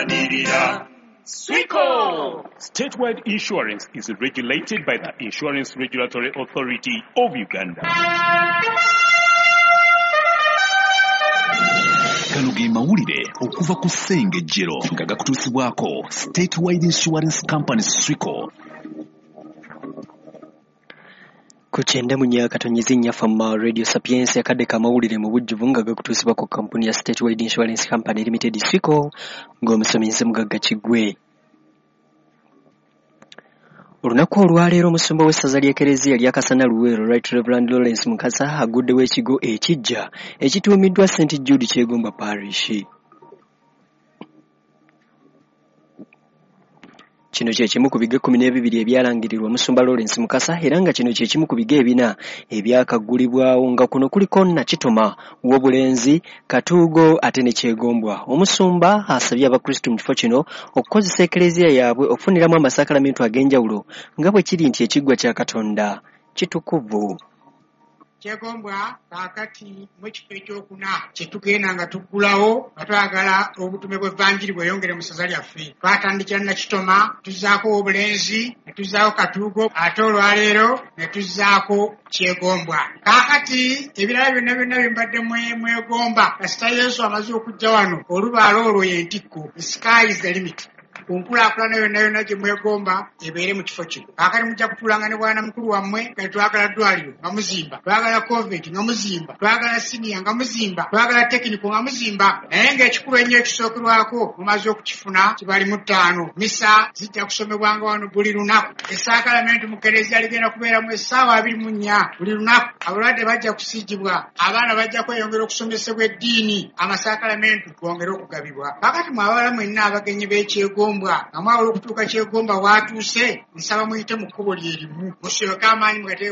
Tulwanirira Swico! Statewide Insurance is regulated by the Insurance Regulatory Authority of Uganda. Gano ge mawulire okuva ku Ssengejjero nga gakutuusibwako Statewide Insurance Company Swico. Ku 94.4 Fama Radio Sapientia, akadde k'amawulire mu bujjuvu nga gakutuusibwa ku kampuni ya Statewide Insurance Company Limited Swico, ng'omusomi nze Mugagga Kiggwe. Olunaku olwaleero omusumba w'essaza ly'Ekereziya lya Kasana Luweero, Right Reverend Lawrence Mukasa, aguddewo ekigo ekiggya ekituumiddwa St Jude Kyegombwa Parish. Kino kye kimu ku bigo 12 ebyalangirirwa omusumba Lawrence Mukasa, era nga kino kye kimu ku bigo 4 ebyakaggulibwawo, nga kuno kuliko Nakitoma, Wobulenzi, Katuugo ate ne Kyegombwa. Omusumba asabye Abakristu mu kifo kino okukozesa Ekereziya yaabwe okufuniramu amasakalamentu ag'enjawulo, nga bwe kiri nti ekiggwa kya Katonda kitukuvu. Kyegombwa kaakati mu kifo ekyokuna kye tugenda nga tuggulawo nga twagala obutume bw'Evanjiri bweyongere mu ssaza lyaffe. Twatandikira Nakitoma, tuzzaako Wobulenzi, ne tuzzaako Katuugo, ate olwaleero ne tuzzaako Kyegombwa. Kaakati ebirala byonna byonna bye mbadde mwegomba, kasita Yesu amaze okujja wano, olubaala olwo y'entikko. The sky is the limit. Ku nkulaakulana yonna yonna gye mwegomba ebeere mu kifo kino. Kaakati mujja kutuulanga ne bwana mukulu wammwe, kati twagala ddwaliro nga muzimba, twagala convent nga muzimba, twagala siniya nga muzimba, twagala tekiniko nga muzimba. Naye ng'ekikulu ennyo ekisookerwako mumaze okukifuna kibali mu 5. Misa zijja kusomebwanga wano buli lunaku. Essaakalamentu mu kereziya ligenda kubeeramu essaawa 24 buli lunaku. Abalwadde bajja kusiigibwa, abaana bajja kweyongera okusomesebwa eddiini, amasaakalamentu gongere okugabibwa. Kaakati mwe abawala mwenna abagenyi b'Ekyegomba, nga mwawula okutuuka Kyegomba waatuuse, nsaba muyite mu kkubo lye limu, musooke amaanyi mugateeke.